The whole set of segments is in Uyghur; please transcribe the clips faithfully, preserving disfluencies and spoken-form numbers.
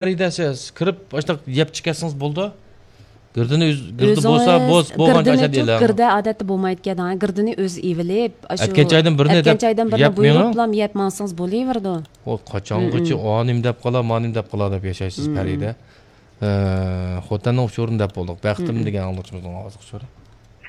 خەرىدە سىز كىرىپ، ئاشۇنداق يەپ چىقىۋەتسىڭىز بولىدۇ. گىردىنى ئۆز-، گىردە بولسا، ئۆزىڭىز بوز-، بولغان گىردىنى ئاشۇنداق چۇ-، ئېلىڭ. گىردە ئادەتتە بولمايدىكەن، ھە، گىردىنى ئۆزى ئېۋىلىپ، ئاشۇ ئەتكەن چايدىن بىرنى ئەتكەن دەپ چايدىن بىرنى يەپ مېڭىڭ. بۇيرۇپلام يەپ ماڭسىڭىز بولۇۋېرىدۇ. ئۇ قاچانغىچە مم. ئانىم دەپ قالا، مانىم دەپ قالا دەپ ياشايسىز، مم. پەرىدە. ئە، خوتەننىڭ ئۇچۇرىنى دەپ بولدۇق. بەختىم مم. دېگەن ئاڭلىتىشىمىزنىڭ ئاۋازلىق ئۇچۇرى.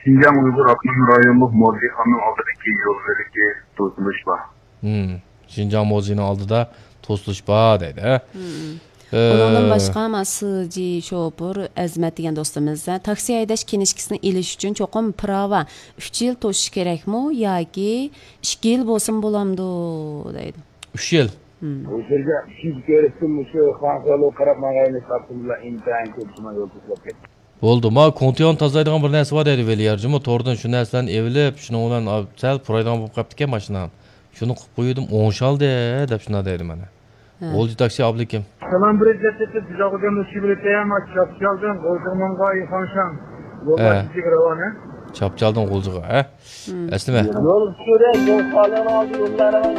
شىنجاڭ ئۇيغۇر ئاپتونوم رايونلۇق مۇزېيخانىنىڭ ئالدىدىكى يول بۆلىكى توسۇلۇش بار. مم. شىنجاڭ مۇزېيىنىڭ ئالدىدا توسۇلۇش بار دەيدۇ، ھە؟ مم. ئە، ئۇنىڭدىن باشقا، مانا، سىجى شوپۇر ئەزمەت دېگەن دوستىمىز، ھە، تاكسى ھەيدەش كىنىشكىسىنى ئېلىش ئۈچۈن چوقۇم پىراۋا ئۈچ يىل توشۇش كېرەكمۇ ياكى ئىككى يىل بولسىمۇ بولامدۇ دەيدۇ. ئۈچ يىل. مم. ئۇ يەردە ئىككىنچى كۆرۈشتىن مۇشۇ خانسالو قاراپ ماڭغاينى تاپتىملا ئىنتايىن كۆپ شۇڭا يول توسۇپ كەتتى. بولدى، ما كوڭتياڭ تازىلايدىغان بىر نەرسە بار دەيدۇ ۋېلى يارجىمۇ، توردىن شۇ نەرسىلەرنى ئېۋىلىپ، شۇنىڭ بىلەن، ئا، سەل پۇرايدىغان بولۇپ قاپتىكەن ماشىنام. شۇنى قىلىپ قويۇۋىدىم، ئوڭشالدى دەپ شۇنداق دەيدۇ مانا. ھە. غۇلجا تاكسى ئابلىكىم. سالام بىر دەپ دەپ بىزاغۇدەن مۇشۇ بىلەن تەيەر ما چاپچالدىن غۇلجىغا ماڭغاي خاڭشاڭ. ھە. يولدا بىزگە راۋان، ھە؟ چاپچالدىن غۇلجىغا، ھە؟ مم. ئەسلىمە. يول سۈرە، يول خالىغان ئالدى يوللارغا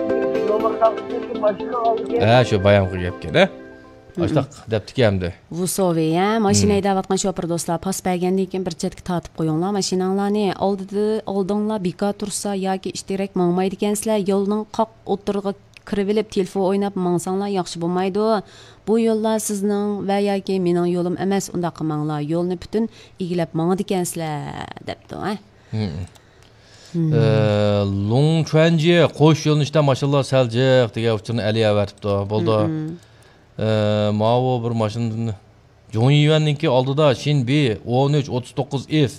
يوللار خەلقى ماشىنا ئالدى. ھە، شۇ بايامقى گەپكەن، ھە؟ مم. ئاشتاق دەپتىكەن ئەمدى. ۋۇسوۋى، ھە؟ ماشىنا مم. ھەيدەۋاتقان شوپۇر دوستلار، پاس بەرگەندىن كېيىن بىر چەتكە تارتىپ قويۇڭلار ماشىناڭلارنى. ئالدىدا، ئالدىڭلار بىكار تۇرسا ياكى ئىشتىرەك ماڭمايدىكەنسىلەر، يولنىڭ قاق ئوتتۇرىغا كىرىۋېلىپ تېلېفون ئويناپ ماڭساڭلار ياخشى بولمايدۇ. بۇ يوللار سىزنىڭ ۋە ياكى مېنىڭ يولۇم ئەمەس، ئۇنداق قىلماڭلار، يولنى پۈتۈن ئىگىلەپ ماڭىدىكەنسىلەر، دەپتۇ، ھە؟ مم. مم. ئە، لۇڭ چۈەنجى قوش يۆنىلىشتە ماشىنىلار سەل جىق دېگەن ئۇچۇرنى ئەلى ئەۋەتىپتۇ. بولدى. مم. ئە، ماۋۇ بىر ماشىنىدىن جۇڭيىيۈەننىڭكى ئالدىدا شىن بى ئون ئۈچ ئوتتۇز توققۇز ئېف.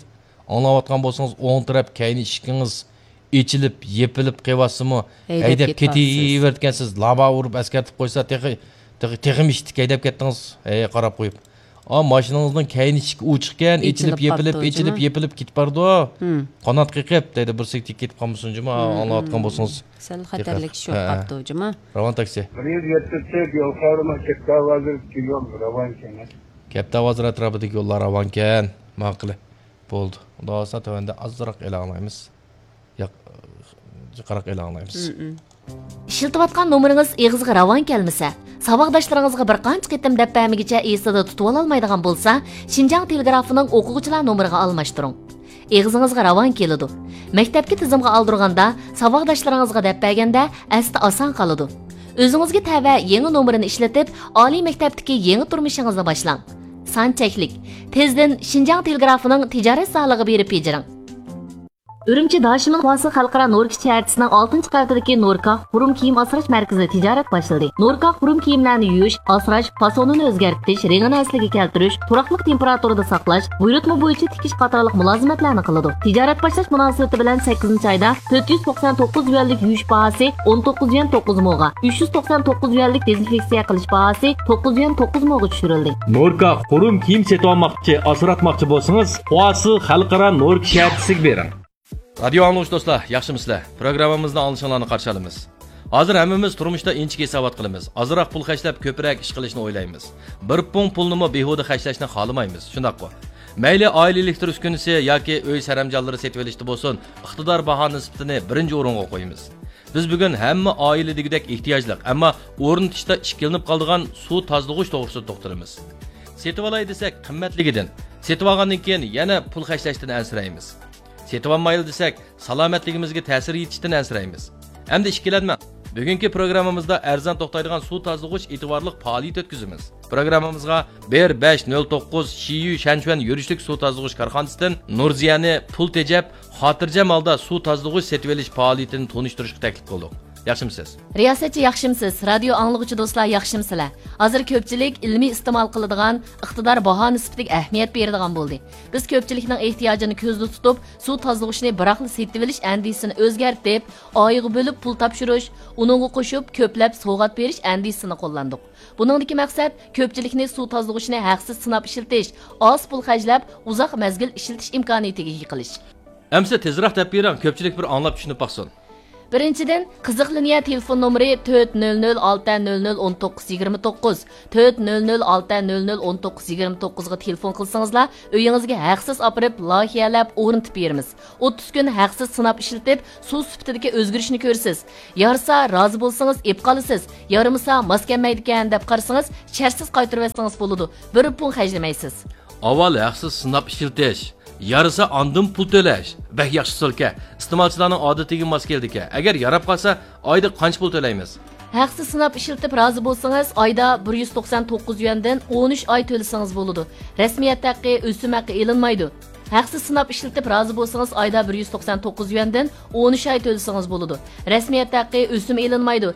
ئاڭلاۋاتقان بولسىڭىز، ئوڭ تەرەپ كەينى ئىشىكىڭىز ئېچىلىپ، يېپىلىپ قېلىۋاتسىمۇ، ھەيدەپ ھەيدەپ كېتىۋاتىسىز. كېتىۋېرىدىكەنسىز. لابا ئۇرۇپ ئەسكەرتىپ قويسا، تېخى، تېخى، تېخىمۇ ئىتتىك ھەيدەپ كەتتىڭىز. ھەي، قاراپ قويۇپ. ئا، ماشىنىڭىزنىڭ كەينى ئىشىكى ئوچۇقكەن، ئېچىلىپ ئېچىلىپ، يېپىلىپ، قاپتۇ، ئېچىلىپ، جۇمۇ. يېپىلىپ كېتىپ بارىدۇ. ھىم. قانات قېقىپ، دەيدۇ، بىر سېكتە كېتىپ قالمىسۇن، جۇمۇ، ھىم، ئاڭلاۋاتقان ھىم. بولسىڭىز. سەل تېخى. خەتەرلىك چۈشۈپ ھە. قاپتۇ، جۇمۇ. راۋان تاكسى. بىر يۈز يەتتە تۆت يول خەۋىرىنىڭ كەپتە ھازىر يول راۋانكەن. كەپتە ھازىر ئەتراپىدىكى يوللار راۋانكەن. ماقۇل. بولدى. خۇدا خالىسا تۆۋەندە ئازراق ئېلان ئاڭلايمىز. ياق، جىقراق ئېلان ئاڭلايمىز. مم. ئىشلىتىۋاتقان نومۇرىڭىز ئېغىزغا راۋان كەلمىسە، ساۋاقداشلىرىڭىزغا بىر قانچە قېتىم دەپ بەرمىگىچە ئېسىدە تۇتۇۋالالمايدىغان بولسا، شىنجاڭ تېلېگرافىنىڭ ئوقۇغۇچىلار نومۇرىغا ئالماشتۇرۇڭ. ئېغىزىڭىزغا راۋان كېلىدۇ. مەكتەپكە تىزىمغا ئالدۇرغاندا، ساۋاقداشلىرىڭىزغا دەپ بەرگەندە ئەستە ئاسان قالىدۇ. ئۆزىڭىزگە تەۋە يېڭى نومۇرىنى ئىشلىتىپ، ئالىي مەكتەپتىكى يېڭى تۇرمۇشىڭىزنى باشلاڭ. سان چەكلىك. تېزدىن شىنجاڭ تېلېگرافىنىڭ تىجارەت زالىغا بېرىپ بېجىرىڭ. ئۈرۈمچى داشىمىن خۇاسى خەلقئارا نور كىچى شەھەرچىسىنىڭ ئالتىنچى قەۋىتىدىكى نوركاھ خۇرۇم كىيىم ئاسراش مەركىزىدە تىجارەت باشلىدى. نوركاھ خۇرۇم كىيىملەرنى يۇيۇش، ئاسراش، پاسونىنى ئۆزگەرتىش، رېڭىنى ئەسلىگە كەلتۈرۈش، تۇراقلىق تېمپېراتۇرىدا ساقلاش، بۇيرۇتما بويىچە تىكىش قاتارلىق مۇلازىمەتلەرنى قىلىدۇ. تىجارەت باشلاش مۇناسىۋىتى بىلەن سەككىزىنچى ئايدا تۆت يۈز توقسان توققۇز يۈەنلىك يۇيۇش باھاسى ئون توققۇز يۈەن توققۇز موغا، ئۈچ يۈز توقسان توققۇز يۈەنلىك دېزىنفېكسىيە قىلىش باھاسى توققۇز يۈەن توققۇز موغا چۈشۈرۈلدى. نوركاھ خۇرۇم كىيىم سېتىۋالماقچى، ئاسراتماقچى بولسىڭىز، خۇاسى خەلقئارا نوركا شەھەرچىسىگە بېرىڭ. رادىيو ئاڭلىغۇچى دوستلار، ياخشىمۇسىلەر؟ پروگراممىمىزنى ئاڭلىشىڭلارنى قارشى ئالىمىز. ھازىر ھەممىمىز تۇرمۇشتا ئىنچىكە ھېسابات قىلىمىز. ئازراق پۇل خەجلەپ، كۆپرەك ئىش قىلىشنى ئويلايمىز. بىر پۇڭ پۇلنىمۇ بىھۇدە خەجلەشنى خالىمايمىز. شۇنداققۇ؟ مەيلى ئائىلە ئېلېكتر ئۈسكۈنىسى ياكى ئۆي سەرەمجانلىرى سېتىۋېلىشتا بولسۇن، ئىقتىدار باھا نىسبىتىنى بىرىنچى ئورۇنغا قويىمىز. بىز بۈگۈن ھەممە ئائىلە دېگۈدەك ئېھتىياجلىق، ئەمما ئورنىتىشتا ئىككىلىنىپ قالىدىغان سۇ تازىلىغۇچ توغرىسىدا توختىلىمىز. سېتىۋالاي دېسەك، قىممەتلىكىدىن، سېتىۋالغاندىن كېيىن يەنە پۇل خەجلەشتىن ئەنسىرەيمىز. سېتىۋالمايلى دېسەك، سالامەتلىكىمىزگە تەسىر يېتىشتىن ئەنسىرەيمىز. ئەمدى ئىككىلەنمەڭ. بۈگۈنكى پروگراممىمىزدا ئەرزان توختايدىغان سۇ تازىلىغۇچ ئېتىبارلىق پائالىيىتى ئۆتكۈزىمىز. پروگراممىمىزغا بىر بەش نۆل توققۇز شىيۈ شەنچۈەن يۈرۈشلۈك سۇ تازىلىغۇچ كارخانىسىدىن نۇرزىيەنى پۇل تېجەپ، خاتىرجەم ھالدا سۇ تازىلىغۇچ سېتىۋېلىش پائالىيىتىنى تونۇشتۇرۇشقا تەكلىپ قىلدۇق. ياخشىمۇسىز؟ رىياسەتچى، ياخشىمۇسىز؟ رادىيو ئاڭلىغۇچى دوستلار، ياخشىمۇسىلەر؟ ھازىر كۆپچىلىك ئىلمىي ئىستېمال قىلىدىغان، ئىقتىدار باھا نىسبىتىگە ئەھمىيەت بېرىدىغان بولدى. بىز كۆپچىلىكنىڭ ئېھتىياجىنى كۆزدە تۇتۇپ، سۇ تازىلىغۇچنى بىراقلا سېتىۋېلىش ئەندىزىسىنى ئۆزگەرتىپ، ئايغا بۆلۈپ پۇل تاپشۇرۇش، ئۇنىڭغا قوشۇپ كۆپلەپ سوۋغات بېرىش ئەندىزىسىنى قوللاندۇق. بۇنىڭدىكى مەقسەت كۆپچىلىكنى سۇ تازىلىغۇچنى ھەقسىز سىناپ ئىشلىتىش، ئاز پۇل خەجلەپ، ئۇزاق مەزگىل ئىشلىتىش ئىمكانىيىتىگە ئىگە قىلىش. ئەمىسە تېزراق دەپ بېرىڭ، كۆپچىلىك بىر ئاڭلاپ چۈشىنىپ باقسۇن. بىرىنچىدىن، قىزىق لىنىيە تېلېفون نومۇرى تۆت نۆل نۆل ئالتە نۆل نۆل ئون توققۇز يىگىرمە توققۇز، تۆت نۆل نۆل ئالتە نۆل نۆل ئون توققۇز يىگىرمە توققۇزغا تېلېفون قىلسىڭىزلا، ئۆيىڭىزگە ھەقسىز ئاپىرىپ لايىھەلەپ ئورنىتىپ بېرىمىز. ئوتتۇز كۈن ھەقسىز سىناپ ئىشلىتىپ، سۇ سۈپىتىدىكى ئۆزگىرىشنى كۆرىسىز. يارىسا رازى بولسىڭىز ئېپ قالىسىز، يارىمىسا ماس كەلمەيدىكەن دەپ قارىسىڭىز، شەرتسىز قايتۇرۇۋەتسىڭىز بولىدۇ، بىر پۇڭ خەجلىمەيسىز. ئاۋۋال ھەقسىز سىناپ ئىشلىتىش، يارىسا ئاندىن پۇل تۆلەش. بەك ياخشى ئۇسۇلكەن. ئىستېمالچىلارنىڭ ئادىتىگە ماس كېلىدىكەن. ئەگەر ياراپ قالسا، ئايدا قانچە پۇل تۆلەيمىز؟ ھەقسىز سىناپ ئىشلىتىپ رازى بولسىڭىز، ئايدا بىر يۈز توقسان توققۇز يۈەندىن ئون ئۈچ ئاي تۆلىسىڭىز بولىدۇ. رەسمىيەت ھەققى، ئۆسۈم ھەققى ئېلىنمايدۇ. ھەقسىز سىناپ ئىشلىتىپ رازى بولسىڭىز، ئايدا بىر يۈز توقسان توققۇز يۈەندىن ئون ئۈچ ئاي تۆلىسىڭىز بولىدۇ. رەسمىيەت ھەققى، ئۆسۈم ئېلىنمايدۇ.